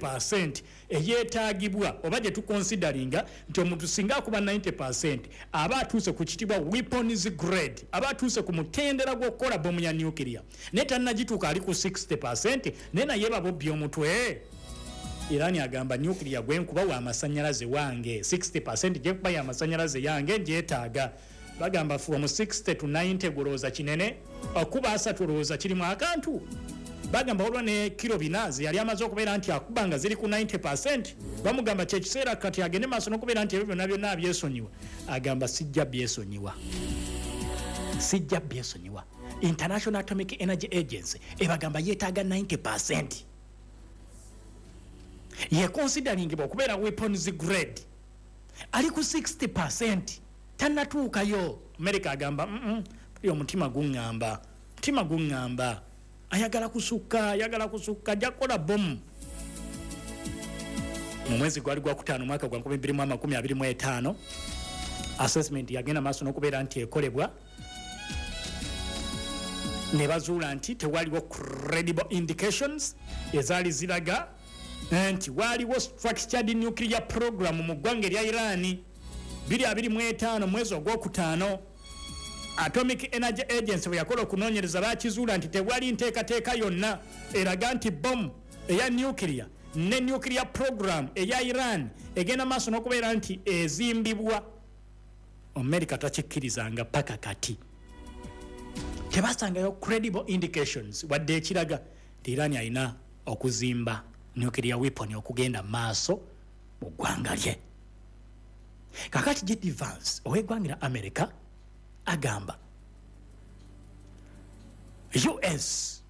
Percent eyeetagibwa oba gye tuconsideringa nti omuntu singa akuba 90% aba atuuse ku kitibwa weapons grade, aba atuuse ku mutendera gw'okukola bomu ya nuclear, naye tannagituuka, ali ku 60%, naye naye babobbi omutwe. Iran agamba, "Nuclear gwenkuba wa amasanyalaze wange, 60% gyenkuba ya amasanyalaze yange ngyetaaga." Bagamba from 60 to 90 gulowooza kinene, okuba 30 olowooza kirimu akantu. Bagamba waliwo ne kiro 4 ze yali amaze okubeera nti akuba nga ziri ku 90%. Bamugamba kyekiseera kati agende maaso n'okubeera nti ebyo byonna byonna abyesonyiwa. Agamba, "Sijja byesonyiwa, sijja byesonyiwa." International Atomic Energy Agency ebagamba yeetaaga 90% yeconsideringibwa okubeera weapons grade, ali ku 60%, tannatuukayo. America agamba, "Buli omutima guŋŋamba, mutima guŋŋamba ayagala kusukka, ayagala kusukka, ajja kukola bomu." Mu mwezi gwali gwakutaano mwaka gwa 2025, assessment yagenda maaso n'okubeera nti ekolebwa, ne bazuula nti tewaliwo credible indications ezaali ziraga nti waaliwo structured nuclear program mu ggwanga erya Iran. 2025 mwezi ogwokutaano, Atomic Energy Agency bwe yakola okunoonyereza, bakizuula nti tewali nteekateeka yonna eraga nti bomu eya nuclear ne nuclear program eya Iran egenda maaso n'okubeera nti ezimbibwa. America takikkirizanga paka kati, tebasangayo credible indications wadde ekiraga nti Iran alina okuzimba nuclear weapon okugenda maaso mu ggwanga lye. Kakati JD Vance ow'eggwanga lya America agamba US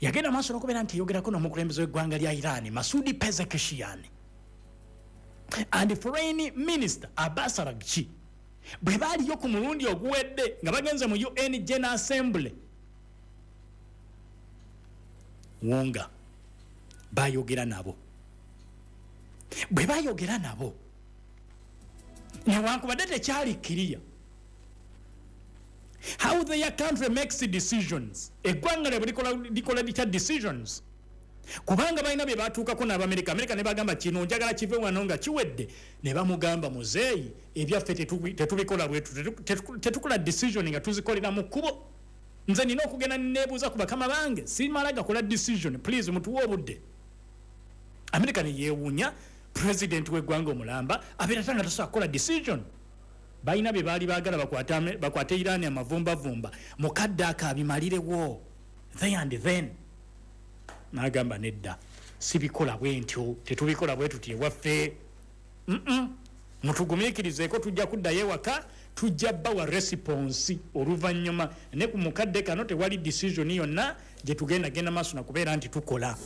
yagenda maaso n'okubeera nti eyogerako n'omukulembeze w'eggwanga lya Iran, Masudi Pezeshkian, and Foreign Minister Abbas Araghchi, bwe baaliyo ku mulundi oguwedde nga bagenze mu UN General Assembly, wonga bayogera nabo. Bwe bayogera nabo, newankubadde tekyali clear how their country makes decisions, eggwanga lyabwe likola litya decisions, kubanga balina bye batuukako n'Abamerika. Amerika ne bagamba, "Kino njagala kive wano nga kiwedde." Ne bamugamba, "Muzeeyi, ebyaffe tetubikola bwetu, tetukola decision nga tuzikolera mu kkubo. Nze nina okugenda nebuuza ku bakama bange, simala gakola decision, please mutuwe obudde." Amerika neyewuunya, president w'eggwanga omulamba abeera tanga tasobola kukola decision. Balina bye baali baagala bakwate Iran amavumbavumba mukadde ako abimalirewo there and then. Nagamba, "Nedda, sibikola bwe ntyo, tetubikola bwe tuti ewaffe. Mutugumiikirizeeko, tujja kuddayo ewaka, tujja bawa response oluvannyuma, ne ku mukadde kano tewali decision yonna gye tugenda genda maaso nakubeera nti tukola."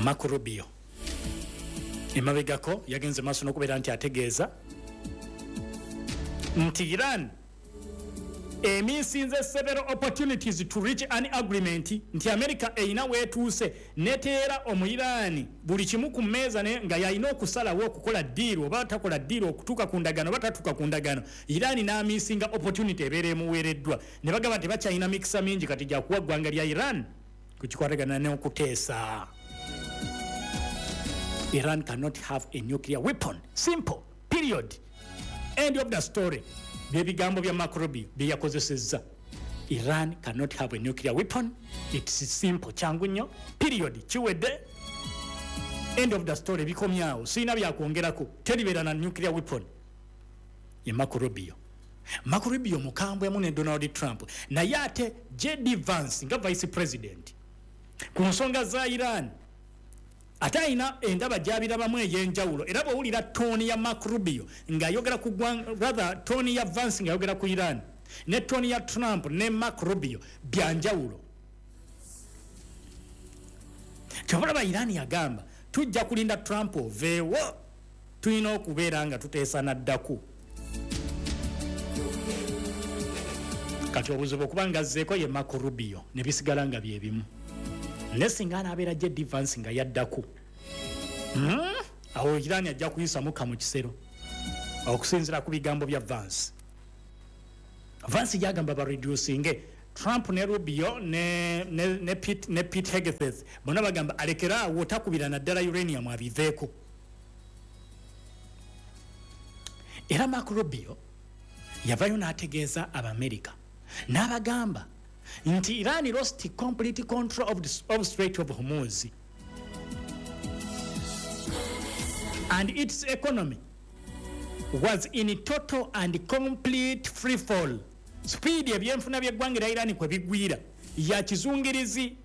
Marco Rubio emabegako yagenze maaso n'okubeera nti ategeeza nti Iran emisinze several opportunities to reach an agreement, nti America erina weetuuse neteera Omuiraani buli kimu ku mmeeza nga yalina okusalawo okukola deal oba takola deal, okutuuka ku ndagano oba tatuuka ku ndagano. Iran n'amisinga opportunity ebeera emuweereddwa, ne bagamba nti bakyalina mikisa mingi kati gyakuwa ggwanga lya Iran kukikwatagana n'okuteesa. Iran cannot have a nuclear weapon, simple, period, end of the story. Byebigambo bya Marco Rubio byeyakozesezza. Iran cannot have a nuclear weapon, it's simple, kyangu nnyo, period, kiwedde, end of the story, bikomyawo, sirina byakwongerako, teribeera na nuclear weapon. Ye Marco Rubio. Marco Rubio mukambwemu ne Donald Trump, naye ate JD Vance nga vice president ku nsonga za Iran ate alina endaba gyabirabamu ey'enjawulo. Era bwowulira tone ya Marco Rubio ng'ayogera ku rather tone ya Vance ng'ayogera ku Iran ne tone ya Trump ne Marco Rubio byanjawulo. Kyobalaba Iran yagamba, "Tujja kulinda Trump oveewo, tulina okubeera nga tuteesa naddaku." Kati obuzibu okuba nga azzeeko ye Marco Rubio ne bisigala nga byebimu, ne singa anaabeera JD Vance nga yaddaku, Awo Iran ajja kuyisa mukka mu kisero okusinziira ku bigambo bya Vance. Vance yagamba bareducinge Trump ne Rubio ne Pete Hegseth bonna bagamba alekeraawo, takubira naddala uranium, abiveeko. Era Mark Rubio yavayo n'ategeeza Abamerika n'abagamba nti Iran lost complete control of Strait of Hormuz and its economy was in total and complete free fall. Speed ebyenfuna by'eggwanga erya Iran kwe bigwira ya kizungirizi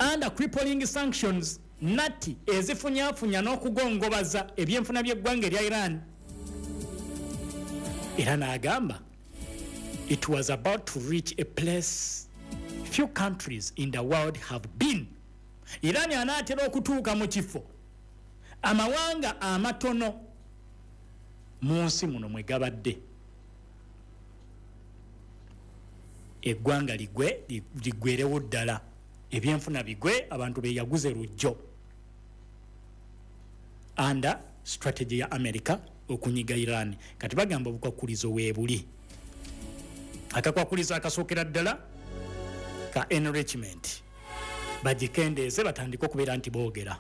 under crippling sanctions, natti ezifunyafunya n'okugongobaza ebyenfuna by'eggwanga erya Iran. Era n'agamba it was about to reach a place few countries in the world have been. Iran anaatera okutuuka mu kifo amawanga amatono mu nsi muno mwe gabadde. Eggwanga ligwe, liggwerewo ddala, ebyenfuna bigwe, abantu beyaguze lujjo under strategy ya America okunyiga Iran. Kati bagamba obukwakulizo weebuli. Akakwakulizo akasookera ddala ka enrichment, bagikendeeze, batandike okubeera nti boogera.